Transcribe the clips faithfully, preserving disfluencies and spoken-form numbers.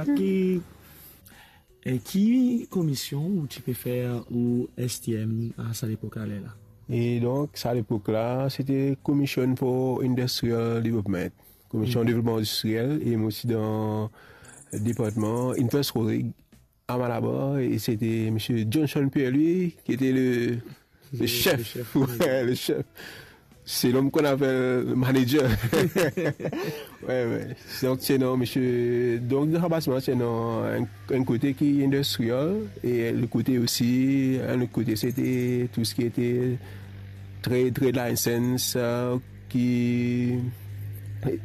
Ki, e, ki komision ou ti pe fer ou S T M a sa lepok la, ler la? E donk, sa lepok la, se te Commission for Industrial Development, Komision Devlopman Indistriel, e mo ti dan departman Invest Rodrig a Malabar, e se te misie Johnson Pierre-Louis ki te le, le sef. Le sef. Wi, le sef. Selon mwa, konn apel manager. Wi, wi. Donk, se non, misie. Donk, dan sa basman, se non, enn, enn kote ki industrial, e lot kote osi, enn lot kote, se te tou seki ete trade, trade license, e, ki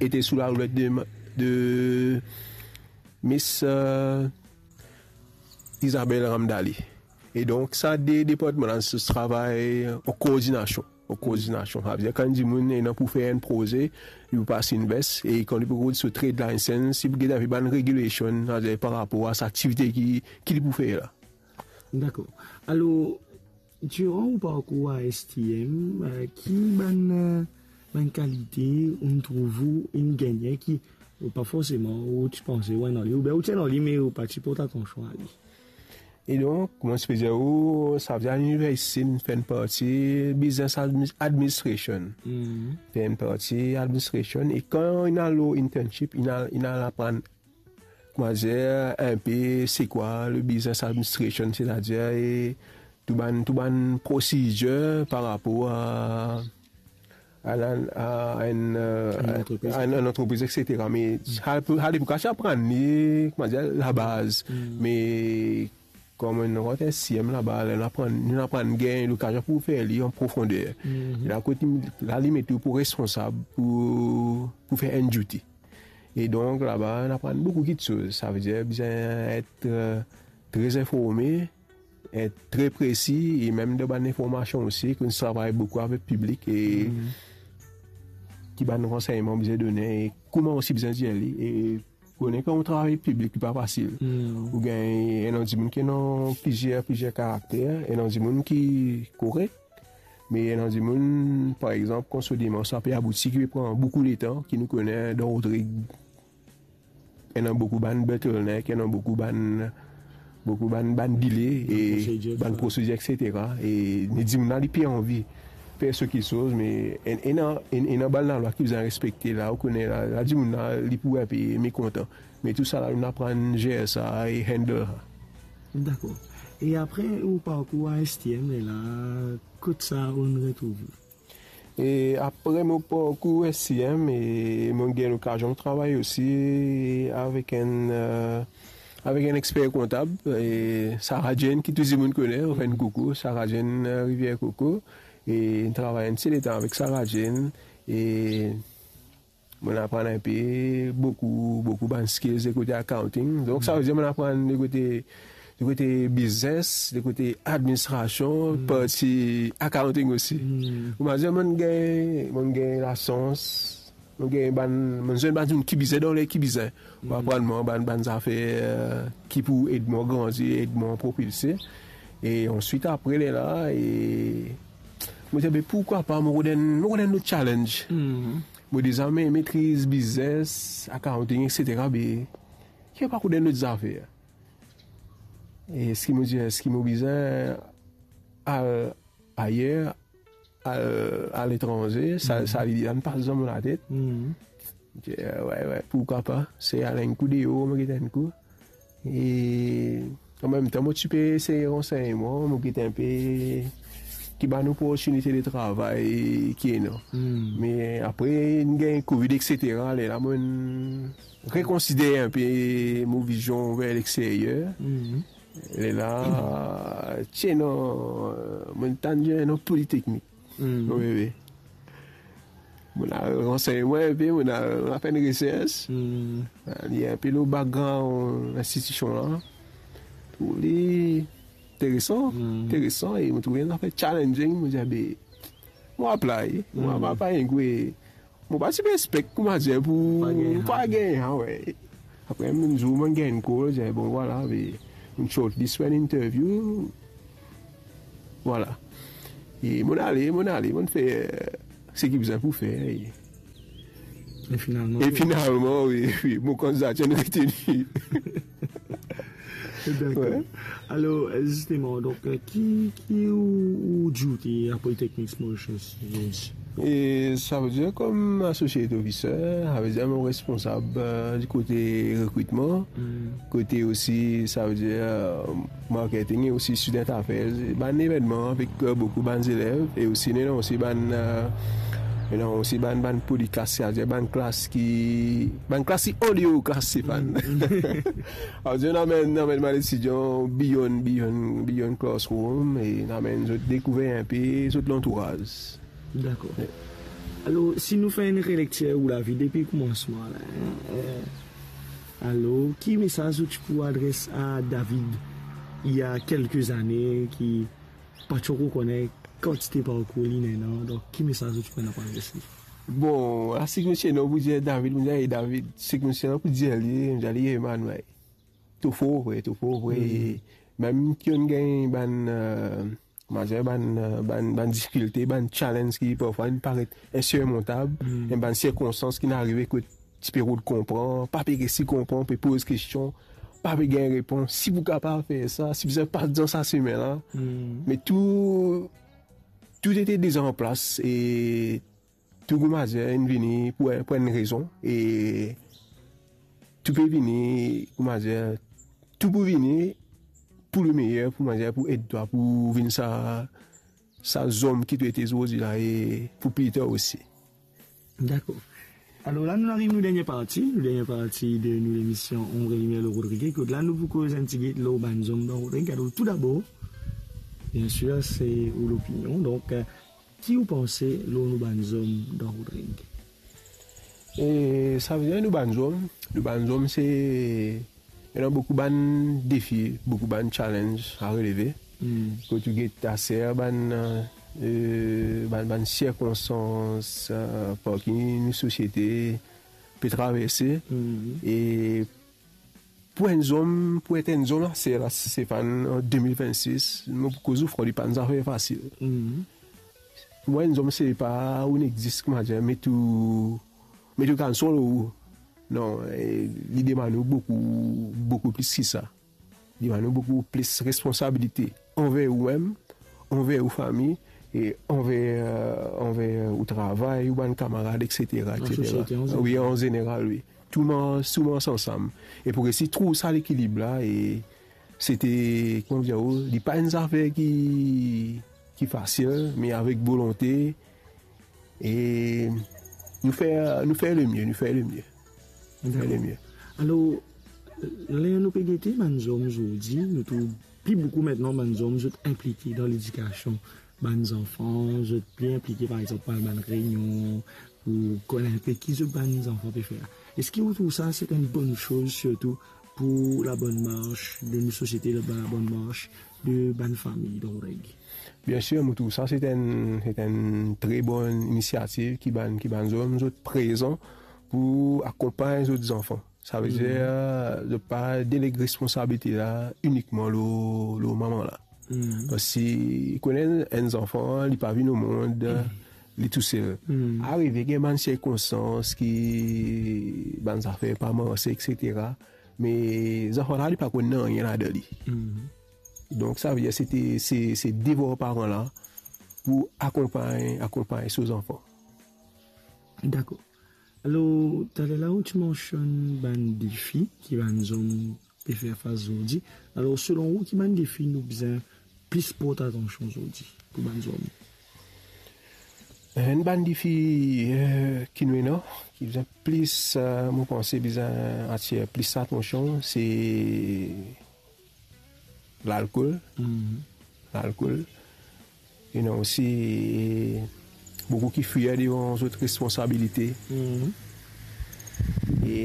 ete sou la roulette de, de Miss, e, Isabelle Ramdali. E donk, sa de departman la, se travay an koordinasion. An koordinasion. Savedir, kan dimoun ena pou fer enn proze, li pou pas Invest, e kan li pou rod so trade license, li pou get avek bann regulation, savedir, par rapor a sa aktivite ki, ki li pou fer la. Dakor. Alor, diran ou parkour a S T M, e, ki bann, e, bann kalite ou trouv ou inn gagne ki, ou pa forseman, ou ti panse ou ena li, oubien ou ti ena li, me ou pa ti port atansion a li? E donk, kouma mo ti pe dir ou, savedir, liniversite, nou fer enn parti business admi-, administration. Mhm. Fer enn parti administration, e kan inn al lor internship, inn al, inn al aprann, kouma dir, enpe se kwa le business administration, setadir, e tou bann, tou bann prosidir par rapor a, a, a enn, e, enn antrepriz, a enn, enn antrepriz, et cetera. Me sa, pou, sa, pou kas aprann li, kouma dir, labaz. Mm. Me kouma nou rant S T M laba, la, nou aprann, nou aprann gagn lokazion pou fer li an profonder. Mhm. E la, kot li, la, li met ou pou responsab pou, pou fer enn duty. E donk, laba, nou aprann boukou kitsoz. Savedir, bizin et, e, tre informe, et tre presi, e mem dan bann informasion osi, ki nou travay boukou avek piblik, e ki bann ransegnman bizin done, e kouma osi bizin dir li, e kone kan ou travay piblik, li pa fasil. Hmm. Ou gagn ena dimoun ki ena plizier, plizier karakter, ena dimoun ki korek, me ena dimoun, par exanp, kan so demars la pe abouti, ki pe pran boukou letan, ki nou kone dan Rodrig, ena boukou bann bottleneck, ena boukou bann, boukou bann, bann delay, bann e prosedir, bann dife- prosedir, et cetera. E, me dimoun la, li pe anvi fer so kitsoz, me en-, ena, en-, ena bann lalwa ki bizin respekte la, ou kone la, la dimoun la, li pou enpe mekontan. Me tou sa la, nou aprann zer sa e handle sa. Dakor. E apre, ou parkour a S T M la, kot sa ou retrouv ou? E apre mo parkour S T M, e mo gagn lokazion travay osi avek enn, e, avek enn exper kontab, e Sarah Jane, ki tou dimoun kone, mo fer enn koukou, Sarah Jane, e, Rivière Coco, e travay enn ti letan avek Sarah Jane, e mo aprann enpe boukou, boukou bann skills de kote accounting. Donk, savedir mo aprann de kote, de kote biznes, de kote administrasion, parti accounting osi. Hmm. Kouma dir, mo gagn, mo gagn lasans, mo gagn bann, mo zwenn bann dimoun ki bizin dan le ki bizin. Pou aprann mwa bann, bann zafer, e, ki pou ed mwa grandi, ed mwa propilse. E answit, apre lerla, e mo dir, be, pourkwa pa, mo rod enn, mo rod enn lot challenge. Hmm. Mo deza me-, metriz biznes, accounting, et cetera, be, ki pa rod enn lot zafer? E eski mo dir, eski mo bizin al ayer, al, aletranze? Sa, sa lide la inn pas dan mo latet. Hmm. Mo dir, e, wi, wi, pourkwa pa? Se al enn kou deor, mo get enn kou. E an mem tan, mo ti pe esey ransegn mwa, mo get enpe ki bann loportinite de travay ki ena. Hmm. Me apre, inn gagn Covid, et cetera, lerla mo rekonsider enpe mo vizion ver lexteryer. Hmm. Lerla, ti ena, mo tann dir ena politeknik. Hmm. Wi, wi. Mo al ransegn mwa enpe, mo al, mo al fer enn resers. Hmm. Li enpe lor background institision la. Trouv li interesan, hmm, interesan, e mo trouv li enn zafer challenging, mo dir, be, mo apply, mo, hmm, mo apply, e mo pa ti pe expect, kouma dir, pou pa gagn, pa gagn, ah, wi. Apre, enn zour, mo gagn enn call, dir, bon, vwala, be, nou shortlist pou enn interview. Vwala. E mo ale, mo ale, mo fer, e, seki bizin pou fer. E E finalman, e finalman, wi, wi, mo kandidatir inn reteni. Dakor. Wi. Alor, zisteman, donk, eh, ki, ki ou, ou dioute a Polytechnics Mauritius? E savedir, kom associate officer, savedir mo responsab, eh, di kote rekritman, kote osi, savedir, eh, marketing e osi student affairs, bann evennman avek, eh, boukou bann zelev, e osi, nou ena osi bann, eh, nou ena osi bann, bann polyclass, savedir bann klas ki, bann klas ki andeor klas, Stéphane. Savedir, nou amenn, nou amenn bann etidian beyond, beyond, beyond classroom, e nou amenn zot dekouver inpe zot lantouraz. Dakor. Alor, si nou fer enn relektir ou lavi depi koumansman la, eh, alor, ki mesaz ou ti pou adres a David, il y a quelques années, ki pa ti ankor kone kantite parkour li ena, donk ki mesaz ou ti pou ena pou adres li? Bon, la, si mo ti ena pou dir David, mo dir, "Ey, David," si mo ti ena pou dir li, mo dir li, "Ey, man, ey, to for vre, to for vre." Mem ki onnla gagn bann, eh, Kouma dir, bann, bann, bann difikilte, bann challenge ki parfwa inn paret insurmontab, me bann sirkonstans ki inn arive kot ti pe rod konpran, pa pe resi konpran, pe poz kestion, pa pe gagn repons, si pou kapav fer sa, si bizin pas dan sa semin la. Me tou, tou ete deza an plas e tou, kouma dir, inn vini pou, pou enn rezon, e tou pe vini, kouma dir, tou pou vini pou lemeyer, kouma dir, pou ed twa pou vinn sa, sa zom ki to ete zordi la e pou pli tar osi. Dakor. Alor la, nou ariv nou dernie parti, nou dernie parti de nou lemision Ombre Limie Loro Rodrig, kot la nou pou koz enn tigit lor bann zom dan Rodrig. Alor, toudabor, biensir, se ou lopinion. Donk, eh, ki ou panse lor nou bann zom dan Rodrig? E savedir nou bann zom, nou bann zom se, ena boukou bann defi, boukou bann challenge a releve. Kot ou get aster bann, eh, bann, bann sirkonstans, eh, par ki nou sosiete pe traverse. E pou enn zom, pou et enn zom aster la, Stéphane, an de mil vennsis, mo pou koz ou fran, li pa enn zafer fasil. Pou mwa, enn zom se pa ou inn existe, kouma dir, me to, me to kapav swiv ou. Non, e, li demann ou boukou, boukou plis ki sa. Li demann ou boukou plis responsabilite anver ou mem, anver ou fami, e anver, anver ou travay, ou bann kamarad, et cetera, et cetera. Lasosiete an zeneral. Wi, an zeneral, wi. Tou mars, tou mars ansam. E pou resi trouv sa lekilib la, e sete, kouma dir ou, li pa enn zafer ki, ki fasil, me avek volonte, e nou fer, nou fer lemie, nou fer lemie. Nou fer lemie. Alor, ler nou pe gete bann zom zordi, nou trouv pli boukou aster bann zom, zot inplike dan ledikasion bann zanfan, zot pli inplike, par exanp, dan bann reynion, pou konn inpe ki zot bann zanfan pe fer. Eski ou trouv sa se enn bonn soz, sirtou pou la bonne marche de nou sosiete, la, la bonne marche de bann fami dan Rodrig? Biensir, mo trouv sa se enn, se enn tre bonn inisiativ ki bann, ki bann zom, zot prezan pou akonpagn zot zanfan. Savedir, zot pa deleg responsabilite la inikman lor, lor mama la. Parski kone enn zanfan, li pa vinn omond, li tousel. Arive gagn bann sirkonstans ki bann zafer pa marse, et cetera. Me zanfan la, li pa konn nanye ladan li. Donk, savedir, sete, se, se devwar paran la pou akonpagn, akonpagn so zanfan. Dakor. Alor, taler la, ou ti mansionn bann defi ki bann zom pe fer fas zordi. Alor, selon ou, ki bann defi nou bizin plis port atansion zordi pou bann zom? Enn bann defi, eh, ki nou ena, ki bizin plis, eh, mo panse bizin atir plis atansion, se lalkol. Lalkol. Ena osi boukou ki fier devan zot responsabilite. E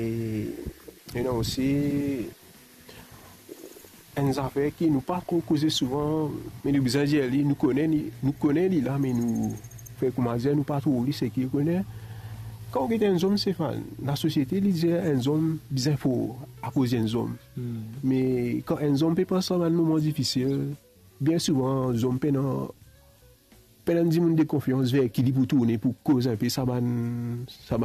ena osi enn zafer ki nou pa tro koze souvan, me nou bizin dir li, nou kone li, nou kone li la, me nou fer kouma dir, nou pa trouv li, seki ou kone. Kan ou get enn zom, Stéphane, lasosiete, li dir enn zom bizin for akoz enn zom. Me kan enn zom pe pas sa bann moman difisil, bien souvan, zom pena, pena dimoun de konfians ver ki li pou tourne pou koz inpe sa bann, sa bann